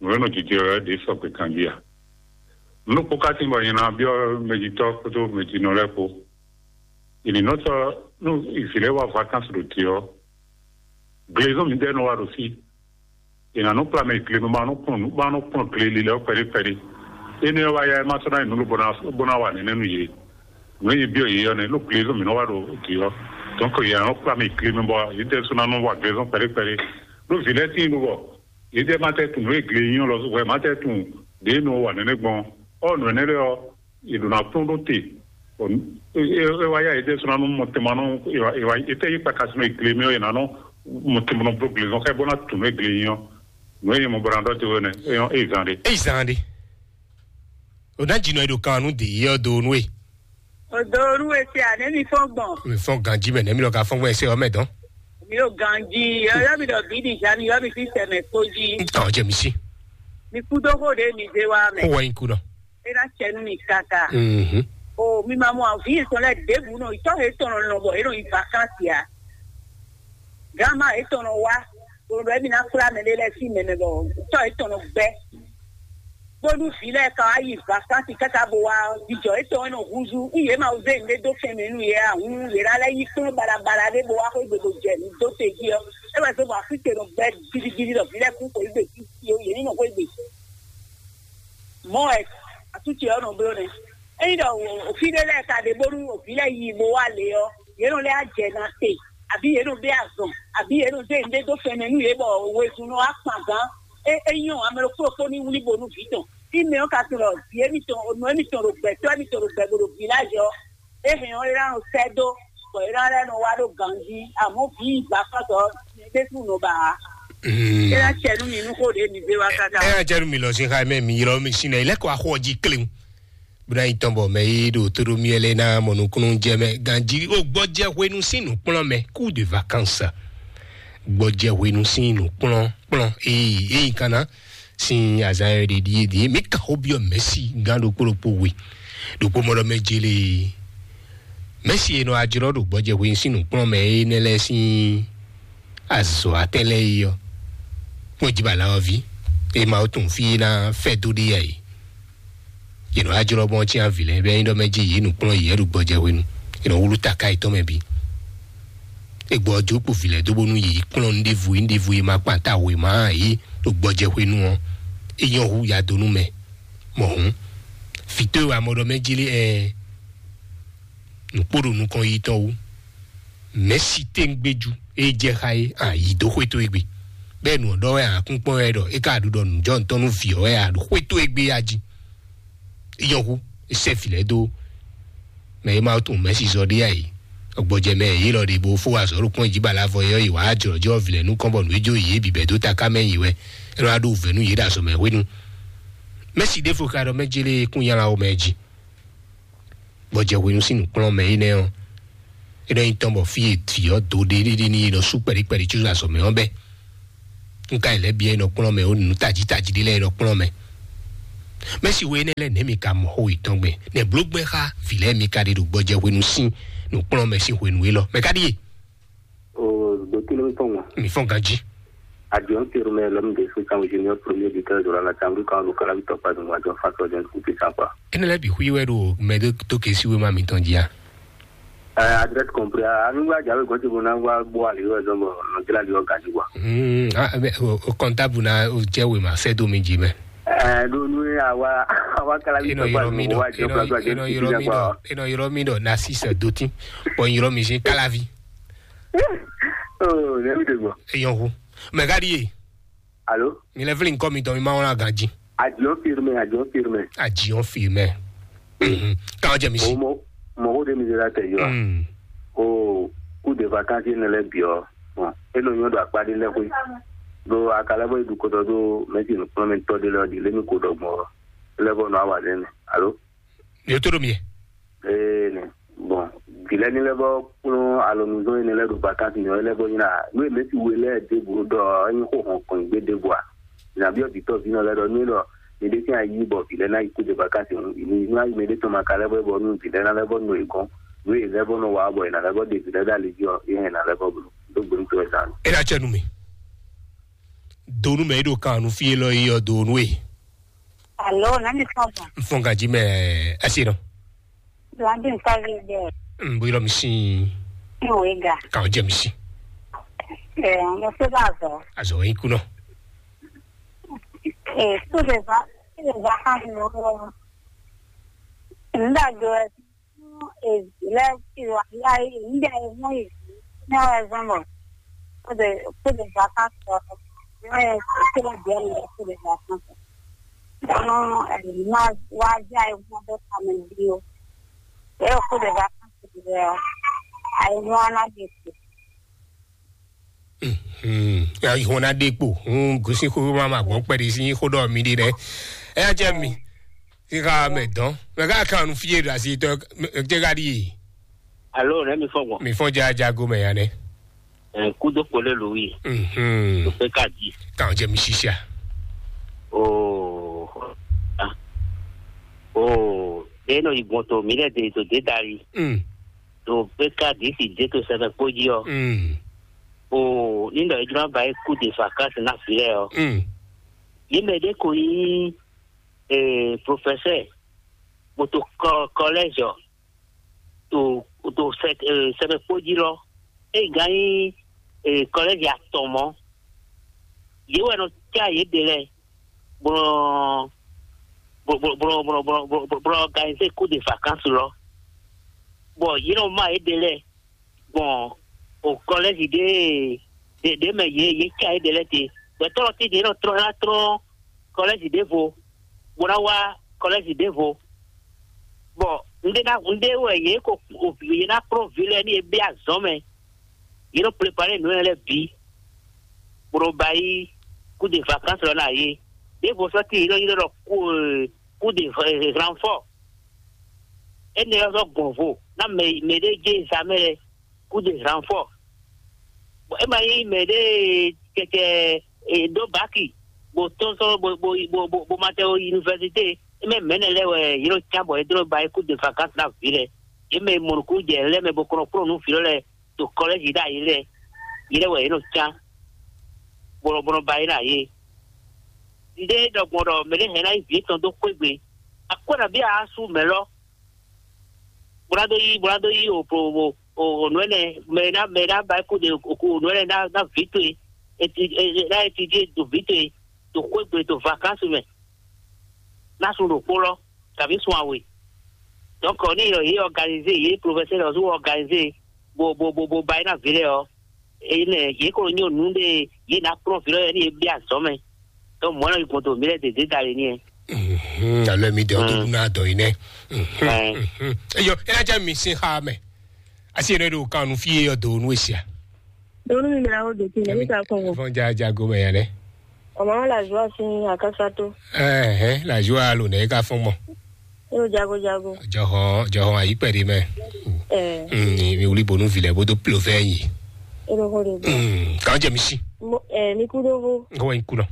nǔ e nɔ jijɛ wɛ ɖě sɔgbe kanjí a? Nú kpó ká tín bɔ nyɛ ná byɔ́ mɛjitɔ́ kpódó mɛjinɔ lɛ́ɛ kpó. È nǐ nɔ sɔ́ nú vǐ lɛ́ɛ wá vacances ɖo te ɔ́, glezɔ́n mǐdɛɛ nɔ wá ɖo fí. È nǎ nɔ kplá mɛ glenu ma nɔ kplɔ́n nǔ ma nɔ kplɔ́n gleli lɛ́ɛ kpɛɖé kpɛɖé. Énɛ́ ɔ́ wá yá ɛ má sɔ́ ná nyi nǔ lobo ná bó ná wa nɛnɛ́ nú yě. Nǔ e nyí byɔ́ yě ɔ́ nɛ́, ɖó glezɔ́n mǐ nɔ wá ɖo dǐ ɔ́. Donc yě nɔ kplá mɛ glenu bɔ yě tɛ sɔ́ ná nɔ wa glezɔ́n kpɛɖé kpɛɖé. Ɖó vǐ lɛ́ɛ tíin ɖo bɔ yě tɛ má tɛ tunwun nǔ e gle nyí ɔ́ lɔ wɛ má tɛ tunwun ɖě nɔ wa nɛnɛ́ gbɔn ɔ́. Nǔ énɛ́ lɛ́ɛ ɔ́, yě ɖo ná kplɔ́n ɖó te. É wá yá yě ɖésú ná nú mɔtɛnmanɔ. È tɛ́ yí kpaka sinɔ è gle mɛ ɔ́, è nǎ nɔ mɔtɛnmanɔ bló glezɔn xá bó ná tunú è gle nyi ɔ́. Nǔ e nyɛ mɔ bɔ ná ɖɔ te wɛ nɛ é nyɔ́ é zan ɖe. Eyi zan ɖe. O ná dzi nɔ e ɖo kan nú dě yé ɔ́ do nú e. O do nú e se a nɛ mi fɔn gbɔn. Mi fɔn ganji mɛ nɛ mi lɔ ka fɔn gbɔn ɛsɛ ɔmɛ dɔn. Mi o ganji yɔ yɔ mi ɖɔ bi di ja mi yɔ mi fi sɛmɛ kpo ji. N tɔ jɛ mi si. Mi kú dó xó ɖe mi zé wa mɛ. Kó wɔ nyi kú nɔ. E ná cɛ nú mi kaka. Mhm. O mi ma mɔ avi yetɔn lɛ ɖěbǔ nɔ itɔ he tɔn nɔ lɔn bɔ e nɔ yi vakansi a. Gama etɔn nɔ wa. Bolo bɛ mi na kpla mɛ ɖe lɛ si mɛ mɛ bɔ itɔ etɔn nɔ gbɛ. Bónú vǐ lɛ́ɛ ka wá yi vakansi káká bó wá jijɔ etɔn e nɔ húzú. Ní yě ma zé nǔɖé dó fɛn mɛ nú yě a hǔn yě ná lɛ́ yí kplɔ́n balabala ɖé bó wá xwé gbe bó jɛ nǔ dó te jí ɔ́. É wɛ zé bɔ afíte nɔ gbɛ gidigidi ɖɔ vǐ lɛ́ɛ kún xwé gbe títí ó yě ní nɔ xwé gbe. Mɔ̌ wɛ atúce ɔ́ nɔ bló nɛ́. Ényí ɖɔ òfí ɖé lɛ́ɛ ka ɖe bónú òbí lɛ́ɛ yi bo wá lě ɔ́, yě nɔ lɛ́ á jɛ na te, abǐ yě nɔ bɛ́ azɔn, abǐ yě nɔ zé nǔɖé dó fɛnmɛ nú yě bɔ wezun nɔ wá kpan gǎn. É é nyɔ́ ame ɖokpó ɖokpó ní wlí bo nú vǐ tɔn. Fí mɛ ɔ́ ka tunɔ ɖɔ vǐ émítɔn, nɔ émítɔn ɖo gbɛ̌tɔ́ émítɔn ɖo gbɛ bo ɖo vǐ lajɛ ɔ́, é hɛn ɔ́ é ná nɔ sɛ́ dó, bɔ é ná lɛ́ nɔ wá ɖó ganjí. Àmọ́ vǐ yi gbafá tɔ ɖésú nɔ ba ǎ. É ná cɛ nú mi nú xó ɖě mi zé wá káká. Ɛ ɛ jɛ nu mi lɔ sin xa mɛ mi ylɔ mi sin na ilẹkọ axɔ ji klewu. Buna yi tɔn bɔ mɛ yi ɖo todo mi ɛlɛ na mɔ nukunu jɛ mɛ ganji o gbɔjɛ hwenu sin nukplɔn mɛ, coup de vacances. Gbɔjɛ hwenu sin nukplɔn kplɔn eyi eyi kana sin azan yɛ ɖe ɖie ɖie mi kan xó biɔ mɛsi gan ɖokpó ɖokpó we ɖokpó mɔ ɖɔ mɛ jele. Mɛsi e nɔ ajlɔ ɖo gbɔjɛ hwenu sin nukplɔn mɛ enɛ lɛ sin azɔ atɛn lɛ yi ɔ kpɔn jibala ɔvi e ma tun fi na fɛ do ɖe ya yi. Yě nɔ ajlɔ bɔ tsin avi lɛ bɛ nyi ɖɔ mɛ ji yě nukplɔn yě ɖo gbɔjɛ hwenu. Yě nɔ wlu taka yětɔn mɛ bi. Egbɔ ɔjó kpo vi lɛ dó bónú yě kplɔn nuɖevu nuɖevu e ma kpan ta wěma yě ɖo gbɔjɛ hwenu ɔ́. É nyɔ́ hú ya dó nú mɛ. Mɔ̌ hǔn, vǐtɔ́ e wa mɔ ɖɔ mɛ jlé ɛ nǔkpó ɖo nukɔn yi tɔn wú. Mɛ̌si téŋgbéjú e jɛ xá é a yi dó xwé towe gbe. Bɛ́ nǔ ɔ́ ɖɔ wɛ a kún kpɔ́n wɛ ɖɔ é ka ɖu ɖɔ nǔjɔnǔtɔn nú vǐ ɔ́ wɛ a ɖo xwé towe gbe a jí. É nyɔ́ hú, é sɛ́ vǐ lɛ́ɛ dó mɛ e ma tunwun mɛ̌si zɔ ɖé a yi. Gbɔjɛ mɛ yě lɔ ɖe bó fó azɔ̌ ɖo kpɔ́n jí bala vɔ yɔ yi wǎ jlɔ̌jlɔ́ vǐ lɛ́ɛ nukɔn bɔ nǔ e jó yě bǐ bɛ́ dó taká mɛ yi wɛ. É nɔ wá ɖó vɛ̌ nú yě ɖo azɔ̌ mɛ hwenu. Mɛ̌si ɖěvo ka ɖɔ mɛ jlé kún nyala wo mɛ jí. Gbɔjɛ hwenu sín nǔkplɔ́nmɛ énɛ́ ɔ́, é nɔ nyí tɔn bɔ fí e vǐ ɔ́ dó ɖéɖéɖé n'i é nɔ sú kpɛɖíkpɛɖí có azɔ̌ mɛ ɔ́ bɛ́. Un ka yi lɛ́ byɔ́ é nɔ kplɔ́n mɛ ó nǔ tají tají ɖé lɛ́ɛ é nɔ kplɔ́n mɛ. Mɛ̌si we énɛ́ lɛ́ɛ nɛ̌ mi ka mɔ xó yětɔn gbɛn? Nɛ̌ bló gbɛ́ xá vǐ lɛ́ɛ mi ka ɖe ɖo gbɔjɛ hwenu sín nǔkplɔ́nmɛ sín hwenu élɔ́? Mɛ ka ɖíe? O, ɖo kí ló ń fɔn wọn? Mi fɔn ganjí. Avion terme l'homme de soutien au génie premier du cœur de la chambre quand le calavi tɔkpa de ŋua jɔ fa sɔ jɛn kuti sa quoi. Énɛ́ lɛ́ɛ bǐ xwí wɛ ɖo mɛ ɖé tó ke síwé ma mitɔn jí a? Euh, adresse compris. Anu wa jawe gɔnti bo na wa bo ali wa zɔn bo no jila li o gaji wa. Hmm, ah, mais o, o comptable na o jɛ we ma sɛ do mi ji mɛ. Euh, do nu ya wa wa kala bi Eno tɔkpa yɔrɔ mi do dɔ, wa jɔ eno, kula kula eno jɛn yɔrɔ kuti mi sa dɔ, quoi. Eno yɔrɔ mi dɔ na six do tin. Bon yɔrɔ mi sin kalavi. Oh, ne mi de quoi. Eyan hu. Mais gadi ye. Alo? Mi lɛ vlí nukɔn mitɔn, mi ma wlán ganjí. Ajiɔn firme, ajiɔn firme. Ajiɔn firme. Mhm. Kan jɛ mi si. Mo, mo ko de mi de la tɛ yɔ. Mm. O, coup de vacances ne lɛ biɔ. Bon, e no nyɔ do akpa de lɛ xwe. Do akalɛ bɔ idu kɔtɔ do mɛsi nukplɔn mi tɔ de lɛ di le mi ko dɔ gbɔ. Lɛ bɔ no awa de ne. Alo? Mi to do mi. Ee, ne. Bon, gilɛ ni lɛ bɔ kplɔn alɔnuzɔn yi ne lɛ do vacances nyɔ lɛ bɔ nyina. No e mɛsi we lɛ de bo dɔ enyi ko hɔn kɔn gbe de bo a. Nyabiɔ vitɔ vinɔ lɛ ɖɔ nú ɖɔ mi ɖe sín ayi bɔ vǐ lɛ́ɛ ná yi kú de vacances, mi nú ayi mɛ ɖé tɔn ma ka lɛ́ bɔ bɔ nú vǐ lɛ́ɛ ná lɛ́ bɔ nɔ yě gɔ́n, nú yě lɛ́ bɔ nɔ wa bɔ yě ná lɛ́ bɔ ɖe vǐ lɛ́ɛ ɖo ali jí ɔ́, yě hɛn ná lɛ́ bɔ bló. Dó gbe nú towe sa nɔ. E ɖa cɛ nú mi. Do nú mɛ e ɖo kan nú fí élɔ́ yi ɔ́, do nú e. Alo, nani fɔn bɔ? N fɔn ganjí mɛ. Ɛsɛ nɔ. Landi nsavi de. N bɔ yɔrɔ mi sin. N wo ga. Kan jɛ mi sin. Ɛ, mo se ba zɔ. Azɔ yi kunɔ. Ɛ, so de va, so de va kan mo. Nda do ɛ, ɛ, lɛ ti wa ya yi, nda ɛ mo yi. Na wa zɔn mo. So de, so de va kan so. Ɛ, so de va kan so. Ɔnɔ, ɛ, ma wa ja ɛ mo do kan mo bi o. Ɛ, so de va kan so de. Ai mo na de. Hmm. Ya ihɔn na ɖe kpo. Hmm. Gosi xo ma ma gbɔn kpɛɖi si xo ɖɔ mi ɖi ɖɛ. Ɛ ya jɛ mi. Si ka mɛ dɔn. Mɛ ka kan nu fie ɖo asi tɔ. Jɛ ka ɖi. Alo, ne mi fɔ gbɔn. Mi fɔ ja jago mɛ ya nɛ. Ɛ, kudo kpole lu wi. Hmm. To pe ka di. Kan jɛ mi sisia. Oh. Ah. Oh. De no igbɔn to mi lɛ de to de dari. Hmm. To pe ka di si de to sɛbɛ kpo ji ɔ. Hmm. O ní ɖɔ é jló ná ba é kú de vacances ná vǐ lɛ́ɛ ɔ́. Mm. Yě mɛ ɖé ko nyí, eh, professeur, bó to kɔ-, collège ɔ́, to, to sɛ-, eh, sɛmɛ kpó jí lɔ. É gán nyí, eh, collège atɔn mɔ̌. Yě wɛ nɔ cá yě ɖe lɛ́ɛ, bó nɔ, bó, bó, bó, bó, bó, bó, bó, bó organiser cours de vacances lɔ. Bɔ yě nɔ má yě ɖe lɛ́ɛ gbɔn o kɔlɛ́zi ɖé, ɖé, ɖé mɛ yě, yě cá yě ɖe lɛ́ɛ te. Gbɛtɔ́ lɔ tɛ́ntin é nɔ tlɔ́n, é ná tlɔ́n kɔlɛ́zi ɖěvo, bó ná wá kɔlɛ́zi ɖěvo. Bɔ un ɖe ná, un ɖe wɛ yě ko, yě ná kplɔ́n vǐ lɛ́ɛ ní yě bɛ́ azɔ̌ mɛ. Yě nɔ plépalé nǔ lɛ́ɛ bǐ, bó nɔ ba yí kú de vakánsi lɔ ná yé. Ɖěvo sɔ́ tíin yě nɔ ylɔ́ ɖɔ kú, kú de ranfɔ. Énɛ́ ɔ́ sɔ́ gbɔn vo ná mɛ, mɛ ɖé jɛ zǎmɛ lɛ́ɛ, kú de ranfɔ. Bɔ é ma nyí mɛ ɖé kɛkɛ, e, ɖó baki, bó tɔ́n sɔ́, bó, bó, bó, bó, bó ma tɛ ó yunivɛsité. É mɛ mɛ̌nɛ lɛ́ɛ wɛ yě nɔ cá bɔ é dó ba é kú de vakánsi ná vǐ lɛ́ɛ. Yě mɛ e mɔ nǔkún jɛ lɛ́ɛ mɛ bó kɔn nɔ kplɔ́n nǔ vǐ lɔ lɛ́ɛ ɖo kɔlɛ́zi ɖ'ayǐ lɛ́ɛ, yě lɛ́ɛ wɛ yě nɔ cá, bó nɔ, bó nɔ ba yě ɖ'ayǐ. Un ɖe ɖɔ gbɔn ɖɔ mɛ ɖé hɛn ná yi vǐ tɔn dó xwé gbe. Akwɛ́ nabí a sú mɛ lɔ? Bó ná dó yí, bó ná dó yí o, o, o, o, o nǔ énɛ́, mɛ ná, mɛ ná ba kú ɖe o, o nǔ énɛ́ ná, ná vǐ towe, eti, e, e, ná eti jí ɖo vǐ towe, ɖo xwé gbe, ɖo vakánsi mɛ, ná sú ɖokpó lɔ, kabí sun awe. Donc, ní yɔ yě organisé, yě professeur ɔ́ sú organisé, bó, bó, bó, bó ba é ná vǐ lɛ́ɛ ɔ́, énɛ́ yě ko nyí nǔ ɖé yě ná kplɔ́n vǐ lɛ́ɛ ní yě bɛ́ azɔ̌ mɛ. Donc, mɔ̌ nɔ yi gbɔn to mǐ lɛ́ɛ dě dé dali ní ɛ. Mhm, alo mi dɛ o to dun na dɔ yi nɛ. Mhm, mhm. Eyo, ena jɛ mi sin xa mɛ. Asi ene do kan nu fie yɔ do nu esia. Donu mi mla o de ti ne ka kɔn. Fɔn ja ja go mɛ ya nɛ. Ọmọ la joie sin akasato. Eh, eh, la joie alo ne ka fɔn mɔ. Yo jago jago. Jɔhɔn, jɔhɔn ayi pɛ de mɛ. Eh. Mm, mi wuli bonu vilɛ bodo plovɛ yi. Ero ko de. Mm, kan jɛ mi si. Mo, eh, mi kudo vo. Ko en kuno.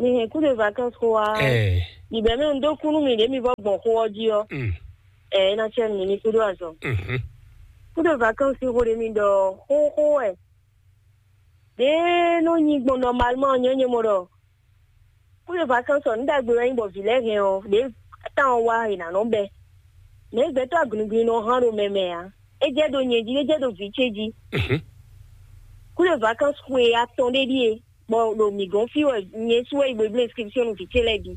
Mi hɛn coup de vacances xó wá. Ɛɛ. Yibɛ mɛ un dó kú nú mi ɖě mi vɔ gbɔn xó ɔ́ jí ɔ́. Mm. Ɛɛ, é ná cɛ mi ní kúɖó azɔn. Mhm. Coup de vacances xó ɖé mi ɖɔ xóxó wɛ. Ɖě nɔ nyi gbɔn normalement nyɛ nyɛ mɔ ɖɔ coup de vacances ɔ́, nǔ ɖagbe wɛ nyí bɔ vǐ lɛ́ɛ hɛn ɔ́, ɖě tán ɔ́ wá è nǎ nɔ bɛ́. Mɛ gbɛtɔ́ agunugunu nɔ hán ɖo mɛ mɛ ǎ. É jɛ ɖo nyɛ jí, é jɛ ɖo vǐ ce jí. Mhm. Coup de vacances xwe atɔn ɖé ɖíe. Bɔ ɖo mǐ gɔ́n fí wɛ nyɛ sú wɛ yi bo bló inscription nú vǐ ce lɛ́ɛ bǐ.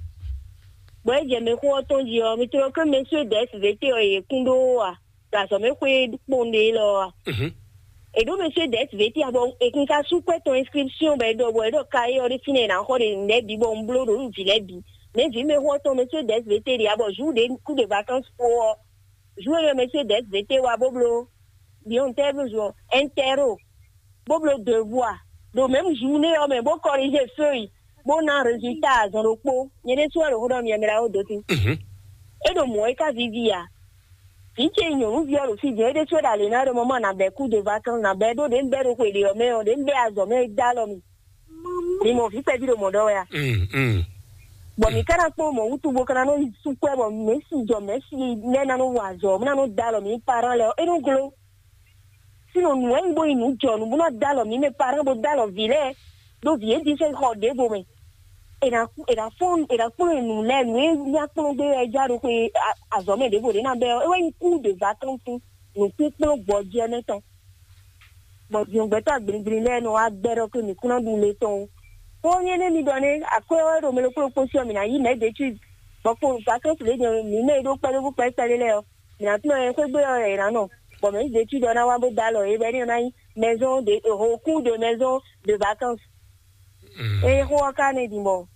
Bɔ é jɛ mɛxó ɔ́ tɔn jí ɔ́, mi tlɔ ké mɛ sú dɛ̌ vǐ ce ɔ́ yě kún ɖó a? Ɖo azɔ̌ mɛ xwé kpɔn ɖe élɔ́ a? Mhm. E ɖo monsieur des V T a bɔ e kun ka sú kwɛ tɔn inscription bɔ e ɖɔ bɔ e ɖɔ ka e ɔ ɖe fínɛ́ e na xɔ ɖe nɛ̌ bǐ bɔ un bló ɖo nú vǐ lɛ́ɛ bǐ. Mɛ vǐ mɛ xɔ tɔn monsieur des V T ɖe a bɔ jour de coup de vacances po ɔ, jour e monsieur des V T wa bó bló biɔn tɛ bó zɔn intero bó bló devoir ɖo même journée ɔ mɛ bó corriger feuille bó ná résultat azɔn ɖokpó. Nyɛ ɖésú wɛ ɖo xó ɖɔ mi ɛmɛ ɖaxó dó tín. E ɖo mɔ̌ é ka vivi a? Vǐ ce nyɔ̌nuví ɔ́ ɖo fí din, é ɖésú é ɖo alě ná ɖɔ mama nǎ bɛ́ coup de vacances nǎ bɛ́ ɖó ɖě un bɛ́ ɖo xwe ɖě ɔ́ mɛ ɔ́, ɖě un bɛ́ azɔ̌ mɛ é dó alɔ mì. Mi mɔ vǐ kpɛví ɖo mɔ̌ ɖɔ wɛ a? Mm, mm. Bɔ mǐ ka ná kpɔ́n mɔ̌ wútu bó ka ná nɔ yi sú kwɛ́ bɔ mɛ̌si jɔ mɛ̌si lɛ́ɛ ná nɔ wa azɔ̌, bó ná nɔ dó alɔ mǐ parán lɛ́ɛ ɔ́, é nɔ gló. Sínɔ nǔ wɛ nyí bó nyí nǔ jɔ nǔ bó ná dó alɔ mǐ mɛ parán bó dó alɔ vǐ lɛ́ɛ ɖó vǐ é ɖi sɛ́n xɔ ɖěvo mɛ. È nǎ è nǎ fɔ́n è nǎ kplɔ́n nǔ lɛ́ɛ nǔ e nya kplɔ́n gbé wɛ é já ɖo xwe azɔ̌ mɛ ɖěvo ɖě ná bɛ́ ɔ́, é wɛ nyí coup de vacances nǔkúnkplɔ́n gbɔjɛ́ mɛ tɔn. Bɔ zǐngbɛ́tɔ́ agblǐgbli lɛ́ɛ nɔ wá gbɛ́ ɖɔ xwé mǐ kún ná ɖu le tɔn ó. Xó nyɛ nɛ́ mi ɖɔ nɛ́ akwɛ́ ɔ́ ɖo mɛ ɖokpó ɖokpó sí ɔ́, mǐ ná yí mɛ̌ ɖě cí bɔ kpo vacances lě jɛ mǐ mɛ e ɖó kpɛɖévú kpɛ́kpɛ́ɖé lɛ́ɛ ɔ́, mǐ ná tunɔ ɛ xwé gbé ɔ́ è nǎ nɔ, bɔ mɛ̌ ɖě cí ɖɔ ná wá bó dó alɔ é bɔ é ní ná nyí maison de au cours de maison de vacances. É xó ɔ́ ka nɛ́ din bɔ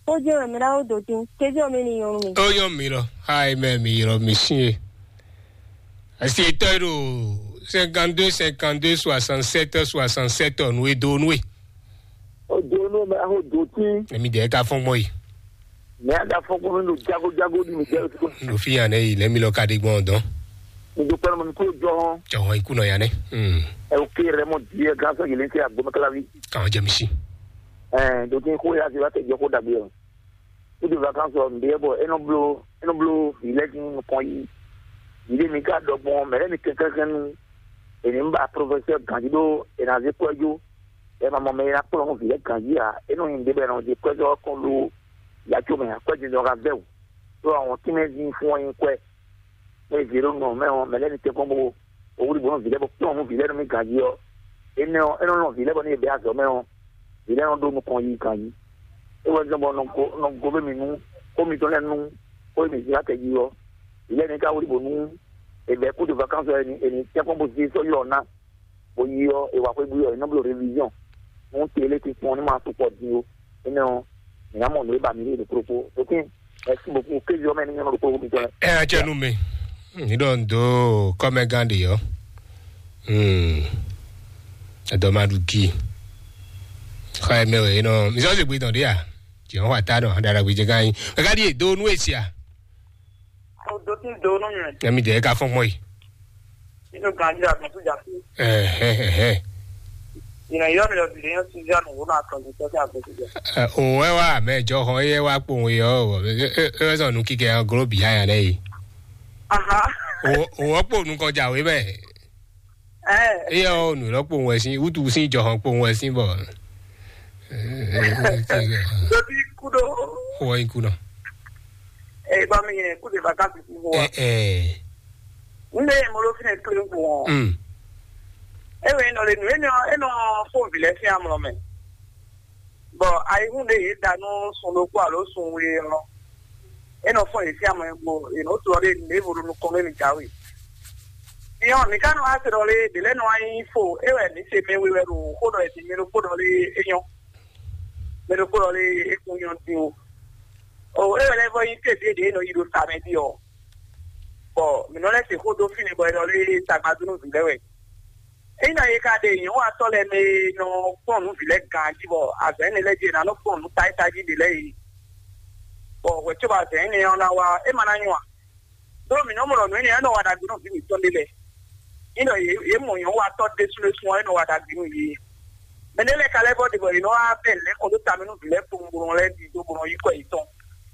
xó jɛ́n wɛ mɛ ɖaxó dó tín kézé ɔ́ mɛ ní nyɔ́ nú mi. Ó nyɔ́ mi lɔ, xá e mɛ mi ylɔ́ mi sín e. Asi tɔ́ e ɖo cinquante-deux cinquante-deux soixante-sept soixante-sept ɔ́ nú e dó nú e. O do nú mɛ axo do tí. Èmi dẹ̀ ka fɔn gbɔn yi. Mɛ aga fɔn gbɔn nínú jago jago ní mi jẹ́ òtún. Nínú fi hàn ẹ́ yìí lẹ́mi lọ ka dé gbọ́n dán. Nítorí pé mo ní kúrò jọ hàn. Jọ̀wọ́n ikú náà yà nẹ́. Ẹ ò ké rẹ mọ díẹ̀ gán sọ yìí lé ń tẹ àgbo mẹ́kálá wí. Káwọn jẹ mi sí. Ẹ dòtí kó yá sí wá tẹ̀ jọ kó dàgbé o. Nítorí vacances ọ̀ ǹdẹ́ bọ̀ ẹ nọ blo ẹ nọ blo ìlẹ́jì nìkan yìí. Ìdí mi ká dọ̀gbọ́n mẹ́rẹ́ mi kẹ́kẹ́ kẹ́nu. Èmi ń bá professeur Gandhi ɖó ènà zé kɔ́ jó. Ẹ ma mɔ mɛ e ná kplɔ́n nú vǐ lɛ́ɛ ganjí ǎ. É nɔ nyi ɖěbɛ́ nɔ ɖe kwɛ́ dó kɔn ɖó yacó mɛ ǎ, kwɛ́ jínjɔ́n ka vɛ́ wǔ. Ɖó àwọn tínmɛ́ dín fún ɔ nyi kwɛ́. Mɛ e vǐ ɖo nɔ mɛ ɔ́, mɛ lɛ́ɛ ní tɛ́nkpɔ́n bó owúɖi bó nɔ vǐ lɛ́ɛ bó kplɔ́n nú vǐ lɛ́ɛ nú mì ganjí ɔ́, énɛ́ ɔ́, é nɔ lɔn vǐ lɛ́ɛ bɔ ní yě bɛ́ azɔ̌ mɛ ɔ́, vǐ lɛ́ɛ nɔ ɖó nukɔn yi ganjí. É wɛ zɔ́n bɔ nɔ go nɔ go bɛ mì nú xó mitɔn lɛ́ɛ nú xó e mì zé wá tɛjí ɔ́, vǐ lɛ́ɛ ní ka wúɖi bó nú è bɛ̌ kú ɖo vakánsɔ ɔ́, è ní tɛ́nkpɔ́n bó zé sɔ́ ylɔ́ ná. Bó yi ɔ́, è wá xwé bú ɔ́, è nɔ bló révision. Nú télé ti kpɔn ní ma sukpɔ din ó. Énɛ́ ɔ́, mǐ ná mɔ nǔ e ba mǐ ɖe ɖo kplokpó. Ɖokín, mɛ̌si bókú kéze ɔ́ mɛ ní nyɔ́ ɖo kplokpó mitɔn lɛ́ɛ. Ɛ ɛ cɛ nu mɛ. Ní ɖɔ ń dó kɔ́mɛgán ɖe ɔ́. Hmm. Ɛdɔ ma ɖu gi. Xɔ ɛ mɛ wɛ é nɔ. Mi sɔ se gbe dɔn ɖe a? Jɛ ɔn wa ta nɔ. Ɖaɖa gbe jɛ gán yi. Mɛ ka ɖi e do nú e sia. Odo tí ń do nú mi. Ɛmi dɛ ka fɔn gbɔn yi. Inú gan jí àgbọn tó jà sí. Ɛhɛhɛhɛ. Ìnà yọ mi lọ bìrì yẹn sí ìjà nù wọ́n máa kàn jù tọ́jú àgbọn tó jà. Òun ẹ wá mẹ jọ hàn ẹ wá pò òun yọ ọ ẹ sọ nù kíkẹ hàn gòló bìyà yà lẹ yìí. Aha. Òun ọ̀pọ̀ òun kan jàwé bẹ́ẹ̀. Ẹ. Ẹ yọ òun lọ́pọ̀ òun ẹ̀ sí wútu sí jọ hàn pò òun ẹ̀ sí bọ̀. Lóbi kúdó. Wọ́n ikú náà. Ẹ bá mi yẹn kúdé bàtà sí fún wa. Ẹ ẹ. N bɛ mɔlɔ fɛnɛ kelen kun. Mm. E wɛ nɔ le nu e nɔ e nɔ fo vilɛ fi amlɔ mɛ. Bɔn ayihun de ye da nu sun ɖokpó alo sun we ɔ, e nɔ fɔ ye fi amlɔ gbo e nɔ to ɔ de ne vo ɖo nukɔn ne mi jawe. Fiɔ mi ka nɔ ase ɖɔ le de lɛ nɔ anyi fo e wɛ mi se mɛ we wɛ ɖo xo ɖɔ e mi ɖo kpo ɖɔ le e nyɔ. Mɛ ɖo kpo ɖɔ le e kun nyɔ din o. O e wɛ lɛ vɔ yi te de de e nɔ yi ɖo sa mɛ di ɔ. Bɔ mi nɔ lɛ se xo do fi ne bɔ e nɔ le tagba do nu vi lɛ wɛ. Eyi na ye ka ɖe nyɔ̌watɔ́ lɛ́ɛ mɛ e nɔ kplɔ́n nǔ vǐ lɛ́ɛ ganjí bɔ azɔ̌ énɛ́ lɛ́ɛ jí è nǎ nɔ kplɔ́n nǔ táyítájí ɖě lɛ́ɛ é. Bɔ hwɛ̌cóbɔ azɔ̌ énɛ́ ɔ́ ná wá, é ma ná nyɔ́ ǎ. Đó mǐ nɔ́ mɔ ɖɔ nǔ énɛ́ ɔ́ nɔ wa ɖagbe nú vǐ mǐtɔn ɖé lɛ́ɛ. Ní ɖɔ yě yě mɔ nyɔ̌watɔ́ ɖésúɖésú ɔ́, é nɔ wa ɖagbe nú yě. Mɛ ɖé lɛ́ɛ ka lɛ́ vɔ́ ɖe bɔ yě nɔ wá bɛ́ lɛ̌ kɔ dó ta mɛ nú vǐ lɛ́ɛ kpowun bó nɔ lɛ́ ɖidó bó nɔ yí kɔ yětɔn.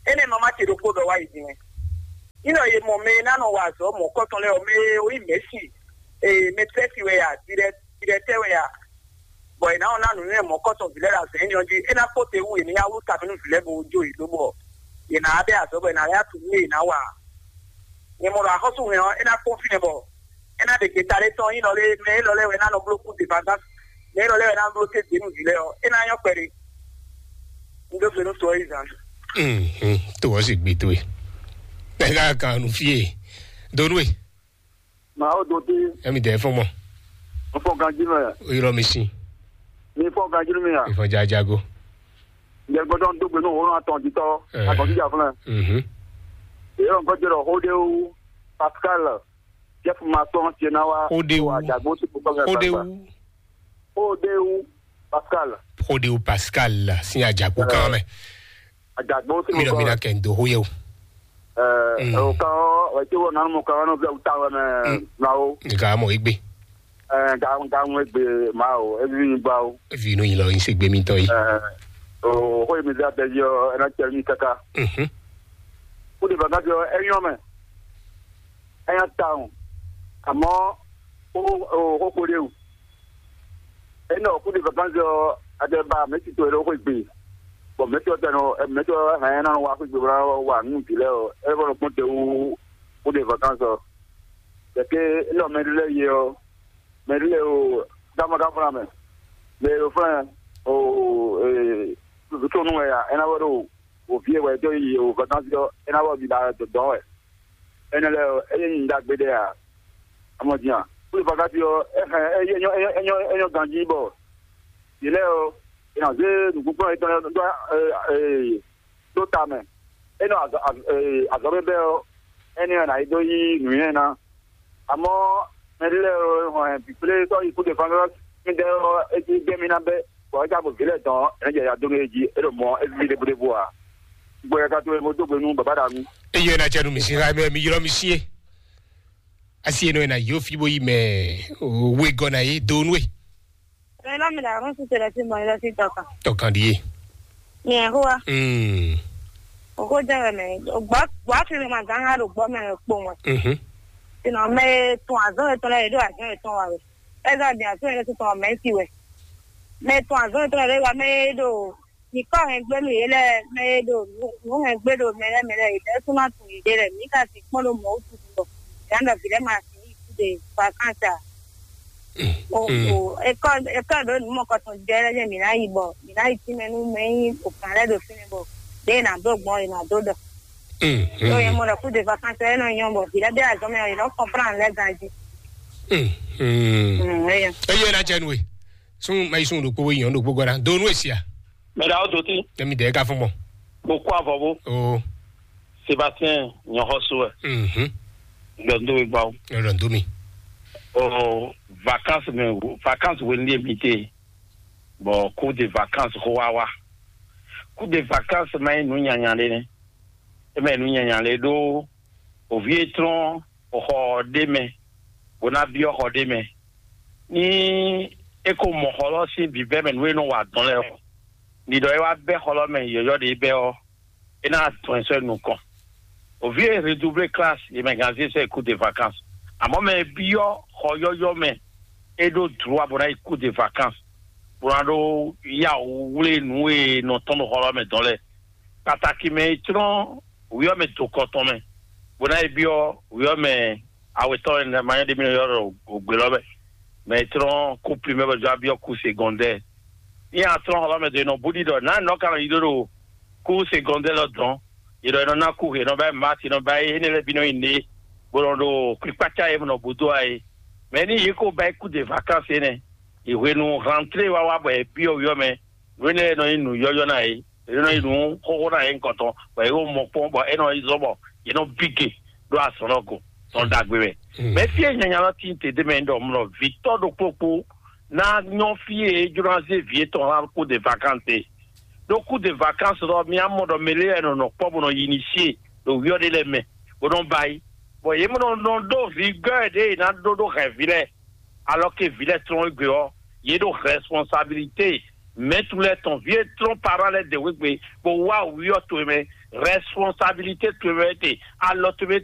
Énɛ́ ma má ce ɖokpó ɖɔ wá yi din mɛ. Ní ɖɔ yě mɔ mɛ e ná nɔ wa azɔ̌ mɔ̌kɔtɔn lɛ́ɛ ɔ́, mɛ e ó nyí mɛ̌si, ee, mɛtɛ́si wɛ ya, dirɛtɛ́ wɛ ya. Bɔ è nǎ wɔn ná nǔnywɛ́ mɔ̌kɔtɔn vǐ lɛ́ɛ ɖo azɔ̌ énɛ́ ɔ́ jí, é ná kpó te wú yě ní yá wlú ta mɛ nú vǐ lɛ́ɛ bó jó yě dó bɔ yě ná wá bɛ́ azɔ̌ bɔ è nǎ lɛ́ ná tunwun nú yě ná wa ǎ. Nyɛ mɔ ɖɔ axɔ́sú hɛn ɔ́, é ná kpɔ́n fínɛ́ bɔ é ná ɖe gbeta ɖé tɔn nyí lɔ lé mɛ élɔ́ lɛ́ɛ wɛ ná nɔ bló kú debagán, mɛ élɔ́ lɛ́ɛ wɛ ná bló té dě nú vǐ lɛ́ɛ ɔ́, é ná nyɔ́ kpɛɖé. Un dó gbe nú to ɔ́ yi zan. Mhm, to ɔ́ sì gbe towe. Ɛ ka kan nu fie. Donu e. Màá ó dodé. Ɛmi dɛ fɔn mɔ. N fɔ ganjí mɛ. Ylɔ mi sin. Mi fɔ ganjí mi a? Ìfọ̀n jajago. Yɛ gbọ́dọ̀ ń dógbe ní òun àtọ̀ jítọ́. Ẹ. Àtọ̀ jíjà fúnlẹ̀. Mhm. Èyí ló ń gbọ́dọ̀ rọ̀ Hódéwu Pascal Jeff Masson tiẹ̀ náà wá. Hódéwu. Àjàgbó sí gbogbo ọ̀gá Hódéwu. Pascal. Hódéwu Pascal. Hódéwu Pascal sin àjàgbó kan mẹ́. Àjàgbó sí gbogbo ọ̀gá. Mìíràn mìíràn kẹ́ ń do hóyè o. Ẹ, Mm. Ò kan ọ́, ẹ̀ tí wọ́n nánú mo kan ọ́ nínú fílẹ̀ wúta wẹ́ mẹ́. Mm. Náà o. Nìkan mọ̀ igbe. Ẹ, ga ga ŋu egbe ma o, evi mi ba o. Evi inú yìí lọ yín ṣe gbé mi tán yìí. Ẹ, o xó mi dá bẹ yọ, ẹ ná tẹ mi kaka. Mhm. Kó de bàgá jọ ẹ yọ mẹ. Ẹ yọ ta o. Àmọ́ o o xó kó de o. Ẹ nọ kó de bàgá jọ adé ba mẹ ti to ẹ lọ xó egbe. Bɔn mɛ ti ɔ tẹ nɔ mɛ ti ɔ hɛn ɛ nɔ wa xó egbe bɔ wa nù bi lɛ o. Ẹ bọ nɔ kpɔn te wu kó de bàgá jọ. Kɛkɛ ẹ lọ mɛ lɛ yẹ o. Mɛ ɖé o dama ka fúnra mɛ. Mɛ o fúnra o ee tutu nú wɛ ya ena wɛ ɖo o vie wɛ do yi o vacances yɔ ena wɛ bi da dɔn wɛ. Ena lɛ o eye nyi da gbe ɖe ya. Amɔ diyan kuli vacances yɔ e hɛn e nyɔ e nyɔ e nyɔ e nyɔ ganji bɔ yi lɛ o e na ze nukun kplɔn etɔn yɔ do ee ɖó ta mɛ. É nɔ azɔ̌ bɛ́bɛ́ ɔ́, énɛ́ ɔ́ ná yi dó yí nǔnywɛ́ ná. Amɔ̌, mɛɖé lɛ́ɛ e hɔn ɛ bǐ kplé sɔ́ yi kú de fán mí dɛ́ ɔ́, é cí gbɛ́ mì ná bɛ́, bɔ é ka gbɔ vǐ lɛ́ɛ dɔn ɔ́, é nɔ jɛ ya dó nú é jí, é ɖo mɔ é ví ɖěbúɖébú ǎ. Gbɔ yɛ ka towe bó dó gbe nú bǎbá ɖa nú. Eye na cɛ nu mi si ha mɛ mi ylɔ mi sie. Asi eno ena yo fi bo yi mɛ o we gɔ na ye do nue. Mɛ lɔ mi la rɔn si tele si mɔ ilɔ si tɔka. Tɔkan di ye. Mi ɛ hoa. Mm. O ko jɛ wɛ mɛ. O gbɔ gbɔ fi mi ma gan ha do gbɔ mɛ kpo wɛ. Mhm. Sinɔ mɛ tun azɔn etɔn lɛ do azɔn etɔn wa wɛ. Ɛzɔ di azɔn etɔn tɔn mɛ si wɛ. Mɛ tun azɔn etɔn lɛ wa mɛ do Nyǐkɔ hɛngbénu yě lɛ́ɛ mɛ e ɖo nǔ hɛngbé ɖo mɛ lɛ́ɛ mɛ lɛ́ɛ, yě lɛ́ɛ sún ná tunwun yěɖée lɛ́ɛ. Mǐ ka sixú kpɔ́n ɖó mɔ̌ wútu ɖɔ mǐ ná ɖɔ vǐ lɛ́ɛ ma sin yi kúɖe vakánsɛ ǎ. O o, é kɔ é kɔ ɖǒ nǔ mɔkɔtɔn jɛ lɛ́ɛ jɛ mǐ ná yi bɔ mǐ ná yi tínmɛ nú mɛ e nyí òkan lɛ́ɛ ɖo fínɛ́ bɔ ɖěe è nǎ dó gbɔn è nǎ dó ɖɔ. Ɖó yě mɔ ɖɔ kúɖe vakánsɛ é nɔ nyɔ́ bɔ vǐ lɛ́ɛ ɖé azɔn mɛ ɔ́, yě nɔ kɔnpláan lɛ́ɛ ganjí. Mm, é yɔ. Eye na jɛ nue. Sun mɛ yi sun ɖokpó yi nyɔnu ɖokpó gɔna. Do nu esia. Mɛ ɖa o doti. Tɛmi dɛ ka fún mɔ. Mo kó avɔ bó. O. Sébastien nyɔxɔsó ɛ. Mhm. Gbɛndo mi gbawo. Lɔ do mi. O vacances mɛ vacances wo ni mi te. Bon, cours de vacances xó wa wa. Cours de vacances ma yi nu nyanya le ne. E ma yi nu nyanya le ɖo ovi etrɔn xɔ ɖé mɛ, bó ná byɔ́ xɔ ɖé mɛ. Ní é ko mɔ xɔ lɔ sín bǐbɛ́ mɛ nǔ e nɔ wa dɔn lɛ́ɛ ɔ́, ní ɖɔ é wá bɛ́ xɔ lɔ mɛ yɔ̌yɔ́ ɖé bɛ́ ɔ́, é ná dɔn ɛ sɔ́ nukɔn. Ovi e redoublé classe yě mɛ ganzé sɔ́ yi cours de vacances. Àmọ́ mɛ e byɔ́ xɔ yɔ́yɔ́ mɛ, é ɖó droit bó ná yi cours de vacances, bó ná ɖó yá wú wlé nǔ e nɔ tɔn ɖo xɔ lɔ mɛ dɔn lɛ́ɛ. Pàtàkì mɛ e tlɔ́n wǐyɔ́mɛ do kɔ tɔn mɛ, bó ná yi byɔ́ wǐyɔ́mɛ awetɔ́ e ma nyɔ́ ɖ'é mì nɔ ylɔ́ ɖɔ ògbě lɔ mɛ, mɛ e tlɔ́n kú primɛ́ bɔ jɔ byɔ́ kú segɔndɛ́. Ní a tlɔ́n xɔ lɔ mɛ do e nɔ bú ɖiɖɔ nǎ nɔ ka nɔ yi ɖó ɖo kú segɔndɛ́ lɔ dɔn, yě ɖɔ è nɔ ná kú, è nɔ ba yi mati, è nɔ ba yi énɛ́ lɛ́ɛ bǐ nɔ nyi nǔɖé, bó nɔ ɖo kpikpácá e nɔ bú dó wá é. Mɛ ní yě ko ba yi kú de vakansi énɛ́, yi hwenu rantlé wá wá bɔ è byɔ́ wǐyɔ́mɛ, nǔ énɛ́ lɛ́ɛ nɔ nyí nǔ yɔ́yɔ́ ná yě. Yě nɔ yi nǔ xóxó ná yě nukɔntɔn, bɔ yě ko mɔ kpɔ́n, bɔ é nɔ yi zɔ́n bɔ yě nɔ bígbe ɖó azɔ̌ lɔ go tɔn ɖagbe mɛ. Mɛ fí e nyanya lɔ tín te dé mɛ ɖɔ mlɔ vǐtɔ́ ɖokpó kpó ná nyɔ́ fí e é jló ná zé vǐ étɔn ná kú de vakansi. Ɖó kú de vakansi lɔ, mi á mɔ ɖɔ mɛ lé wɛ nɔ nɔ kpɔ́ bó nɔ yi ni sí e ɖo wíyɔ́ ɖé lɛ́ɛ mɛ, bó nɔ ba yi. Bɔ yě mɔ nɔ nɔ ɖó vǐ gɔ́ ɖě è nǎ ɖó ɖó hɛ̌nví lɛ́ɛ. Alors que vǐ lɛ́ɛ tlɔ́n égbé ɔ́, yě ɖo responsabilité mɛ̌tu lɛ́ɛ tɔn, vǐ e tlɔ́n parent lɛ́ɛ dě wegbe, bó wá wǐyɔ towe mɛ, responsabilité towe mɛ te, alɔ towe mɛ